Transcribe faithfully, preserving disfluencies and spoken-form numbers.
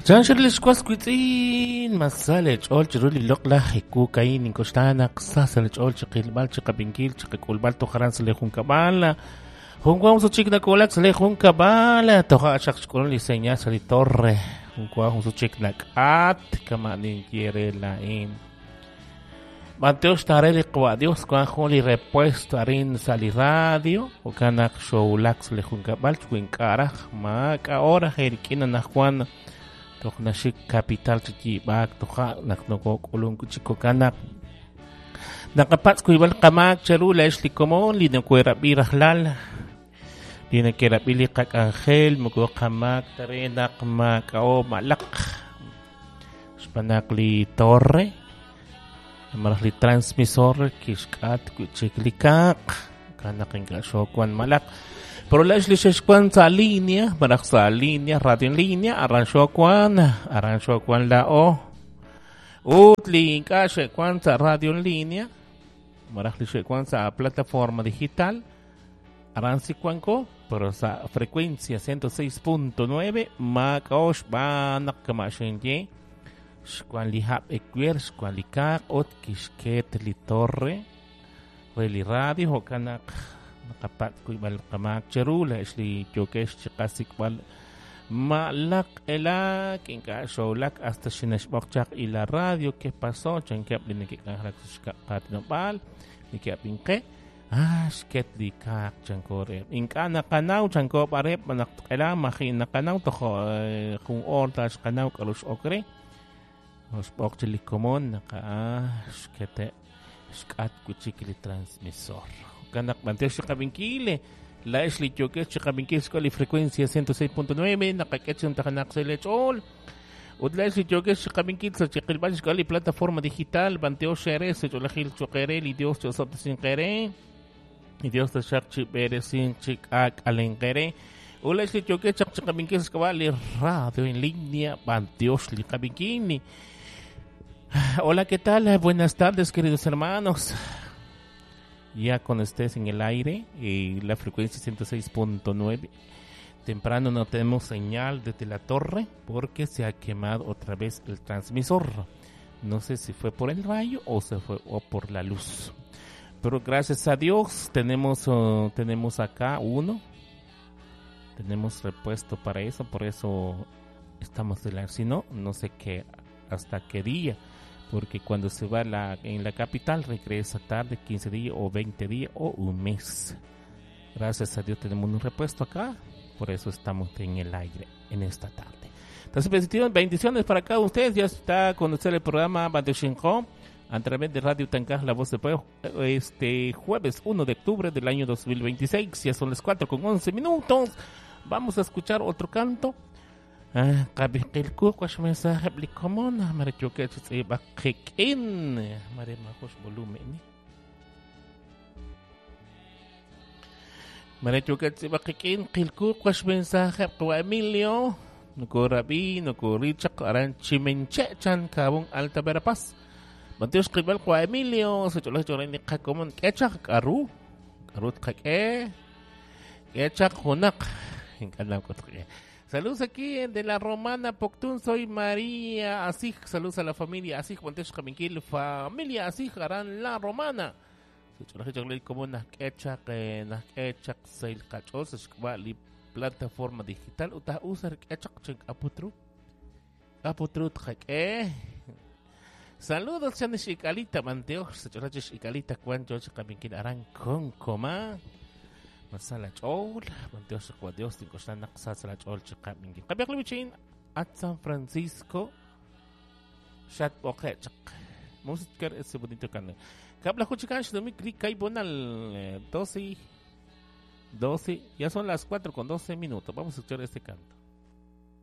Chanxer lixwas witz'in masal ch'ol chiru li loq'laj ikukain inkoxtanak sasal ch'ol chiqilb'al chiqab'inkil chiqak'ulb'al tojaran sa li junkab'al junwan suchik nakulak sa li junkab'al toja xaq xk'ulun li señal sa li torre junwan suchik nak'at kama ninkiere lain Mateo tare li qwa Dios kwan jun li repuesto arin sa li radio okanak xowlak sa li junkab'al chwink'araj ma k'a'ora jerik'ina najwan toj naxik capital chiyibaak toja naq nokok'ulun chikokanak naqapatz kuyb'al qamaak cheru laex li komon li nokuerab'i rajlal li nakerab'i li qak'anjel moko qamaak tare naq mak'ao malaq xb'aan li torre maraj li transmisor kixk'at wi'chik li kaaq kanaq ink'a' xowan malaq. Pero la li xexwan sa línea, maraj sa línea, radio en línea, aran xowan, aran xowan la o. Ut li ink'a' xewan sa radio en línea, maraj li xewan sa plataforma digital, aran sikwanko, pero sa frecuencia ciento seis punto nueve, mak'o xb'aan naq kama xinye, xwan li hab' ekwer, xwan li kaaq, ut kixket li torre, re li radio, jo'kanaq naqapat kuyb'al qamaak cheru laex li yokex chiqasikb'al malaq elak ink'a' xowlak hasta xinaxb'oq chaq y la radio que pasó chankeb' li nekek'anjelak sa xkaq'aatinob'aal neke'ab'inqe ah xket li kaaq chanko reheb' ink'a' naqanaw chanko b'areb' naq tq'ela maji' naqanaw tojo jun oor ta xqanaw k'aru x'ok re xb'oq chi li komon naqa xkete xk'at wi'chik li transmisor kanak banteo chiqab'inkil laex li yokex chiqab'inkil xk'ol li frecuencia ciento seis punto nueve naqak'e chuntajanaq sa lech'ool ut laex li yokex chiqab'inkil sa chiqilb'al xk'ol li plataforma digital banteo xere sa ch'olajil choqere li Dios chosob'tesinqere li Dios taxaq chib'eresin chik'ak'alenqere ut laex li yokex chaq chiqab'inkil xk'ab'a' li radio en línea banteo li qab'inkil. Hola, ¿qué tal? Buenas tardes, queridos hermanos. Ya con ustedes en el aire, eh, la frecuencia ciento seis punto nueve. Temprano no tenemos señal desde la torre porque se ha quemado otra vez el transmisor. No sé si fue por el rayo o se fue o por la luz. Pero gracias a Dios tenemos, uh, tenemos acá uno. Tenemos repuesto para eso, por eso estamos de la... Si no, no sé qué, hasta qué día. Porque cuando se va la, en la capital regresa tarde, quince días o veinte días o un mes. Gracias a Dios tenemos un repuesto acá, por eso estamos en el aire en esta tarde. Entonces, bendiciones para cada uno de ustedes. Ya está con usted el programa Bandeshinko a través de Radio Tancaj, La Voz del Pueblo, este jueves uno de octubre del año dos mil veintiséis. Ya son las cuatro con once minutos. Vamos a escuchar otro canto. Qab'ilqilku wax mensaje li komon mare yoke tz'ib'aqiq'in mare majox volumen mare yoke tz'ib'aqiq'in qilku wax mensaje qwa Emilio nukurab'i nukurichaq aran chimenche chan kabun Alta Verapaz Bantios qib'al qwa Emilio soch'olaj ch'orani qakomon k'echaq k'aru k'aru tqak'e k'echaq junaq ink'anam k'utq'e. Saludos aquí de la Romana Poctún, soy María Asij. Saludos a la familia Asij, Montes Jaminquil, familia Asij, harán la Romana. Plataforma digital, uta usar aputru. Aputru tjake. Saludos, Chanesh Ikalita, Manteos, Ikalita, Cuancho, Jaminquil, harán con coma. Masala chol, Dios Dios sala chol chiqab'inki. Qabiqlibichin at San Francisco Shat Boqechaq. Música ese bonito canal. Kabla juchikan shdomi klik kai bonal doce doce, ya son las cuatro con doce minutos. Vamos a escuchar este canto.